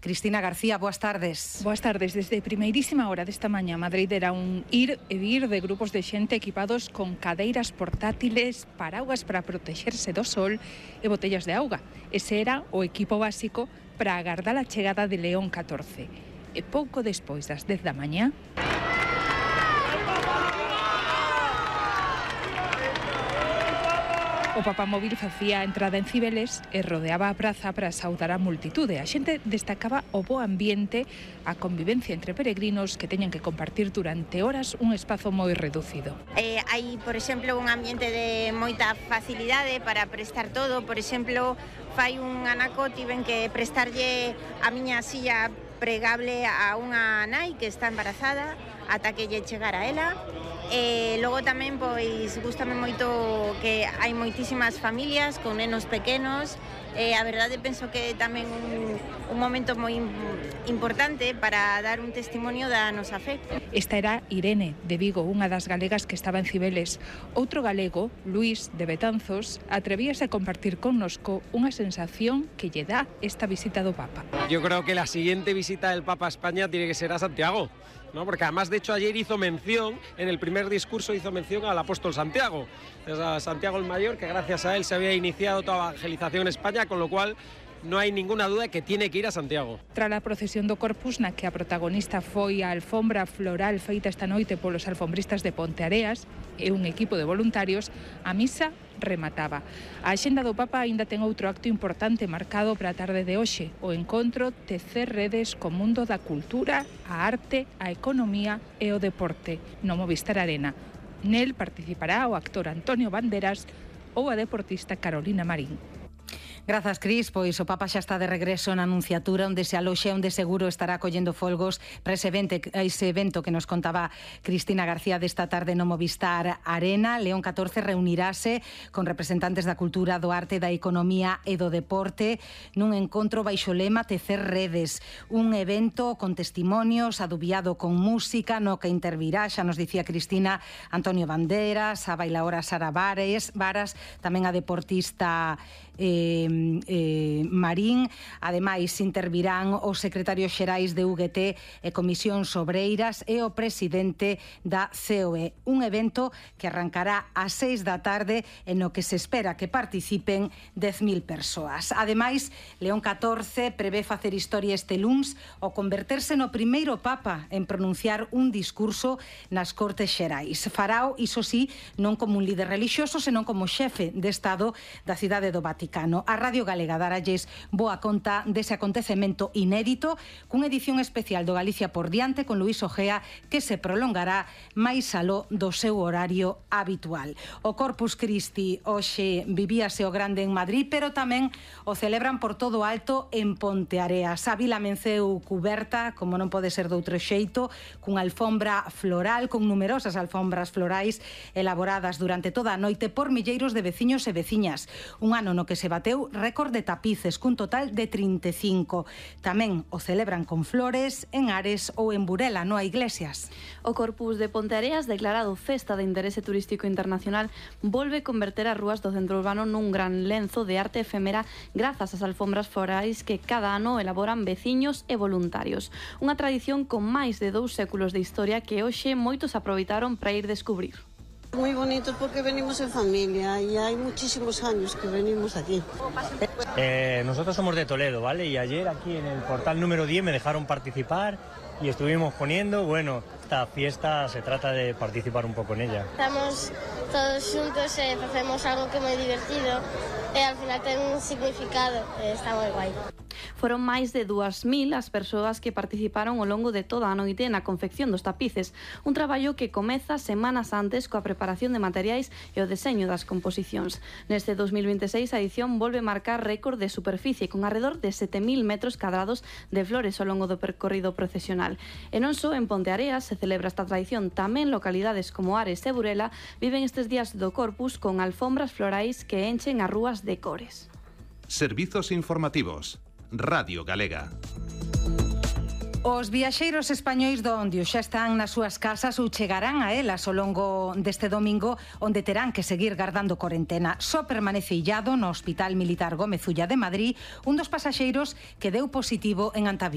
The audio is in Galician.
Cristina García, boas tardes. Boas tardes. Desde primeirísima hora desta mañá, Madrid era un ir e vir de grupos de xente equipados con cadeiras portátiles, paraguas para protexerse do sol e botellas de auga. Ese era o equipo básico para agardar a chegada de León 14. E pouco despois das 10 da mañá, o papamóvil facía a entrada en Cibeles e rodeaba a praza para saudar a multitude. A xente destacaba o bo ambiente, a convivencia entre peregrinos que teñan que compartir durante horas un espazo moi reducido. Hai, por exemplo, un ambiente de moita facilidade para prestar todo. Por exemplo, fai un anaco tiven que prestarlle a miña silla pregable a unha nai que está embarazada ata que lle chegara ela. Logo tamén, pois, gústame moito que hai moitísimas familias con nenos pequenos. A verdade, penso que tamén un momento moi importante para dar un testimonio da nosa fe. Esta era Irene, de Vigo, unha das galegas que estaba en Cibeles. Outro galego, Luís, de Betanzos, atrevíase a compartir connosco unha sensación que lle dá esta visita do Papa. Yo creo que la siguiente visita del Papa a España tiene que ser a Santiago, ¿no? Porque además, de hecho, ayer hizo mención, en el primer discurso hizo mención al apóstol Santiago, a Santiago el Mayor, que gracias a él se había iniciado toda la evangelización en España, con lo cual no hay ninguna duda de que tiene que ir a Santiago. Tras a procesión do Corpus, na que a protagonista foi a alfombra floral feita esta noite polos alfombristas de Ponteareas e un equipo de voluntarios, a misa remataba. A axenda do Papa aínda ten outro acto importante marcado para a tarde de hoxe, o encontro Tecer redes co mundo da cultura, a arte, a economía e o deporte no Movistar Arena. Nel participará o actor Antonio Banderas ou a deportista Carolina Marín. Grazas, Cris. Pois o Papa xa está de regreso na Anunciatura, onde se aloxe, onde seguro estará collendo folgos para ese evento que nos contaba Cristina García desta tarde no Movistar Arena. León 14 reunirase con representantes da cultura, do arte, da economía e do deporte nun encontro baixo lema Tecer redes, un evento con testimonios, adubiado con música, no que intervirá, xa nos dicía Cristina, Antonio Banderas, a bailaora Sara Varas, tamén a deportista Marín. Ademais, intervirán os secretarios xerais de UGT e Comisións Obreiras e o presidente da COE. Un evento que arrancará ás 6 da tarde e no que se espera que participen 10.000 persoas. Ademais, León 14 prevé facer historia este luns ao converterse no primeiro Papa en pronunciar un discurso nas Cortes Xerais. Farao, iso sí, non como un líder relixioso, senón como xefe de Estado da cidade do Vaticano. A Radio Galega daralles boa conta dese acontecemento inédito, cunha edición especial do Galicia por diante con Luís Ojea, que se prolongará máis aló do seu horario habitual. O Corpus Christi hoxe vivíase o grande en Madrid, pero tamén o celebran por todo alto en Ponteareas. A vila amenceu cuberta, como non pode ser doutro xeito, cunha alfombra floral, con numerosas alfombras florais elaboradas durante toda a noite por milleiros de veciños e veciñas. Un ano no que se bateu récord de tapices, cun total de 35. Tamén o celebran con flores en Ares ou en Burela, no a Iglesias. O Corpus de Ponteareas, declarado Festa de Interese Turístico Internacional, volve converter as rúas do centro urbano nun gran lenzo de arte efémera grazas ás alfombras florais que cada ano elaboran veciños e voluntarios. Unha tradición con máis de 2 séculos de historia que hoxe moitos aproveitaron para ir descubrir. Muy bonito porque venimos en familia y hay muchísimos años que venimos aquí. Nosotros somos de Toledo, ¿vale? Y ayer aquí en el portal número 10 me dejaron participar y estuvimos poniendo, bueno, esta fiesta se trata de participar un poco en ella. Estamos todos xuntos e facemos algo que é moi divertido e al final ten un significado, está moi guai. Foron máis de 2.000 as persoas que participaron ao longo de toda a noite na confección dos tapices, un traballo que comeza semanas antes coa preparación de materiais e o deseño das composicións. Neste 2026 a edición volve marcar récord de superficie con arredor de 7.000 metros cadrados de flores ao longo do percorrido procesional. E non só en Ponteareas se celebra esta tradición, tamén localidades como Ares e Burela viven estes días do Corpus con alfombras florais que enchen as rúas de cores. Servizos informativos. Radio Galega. Os viaxeiros españois do Ondio xa están nas súas casas ou chegarán a elas ao longo deste domingo, onde terán que seguir gardando corentena. Só permanece illado no Hospital Militar Gómez Ulla de Madrid un dos pasaxeiros que deu positivo en Antaví.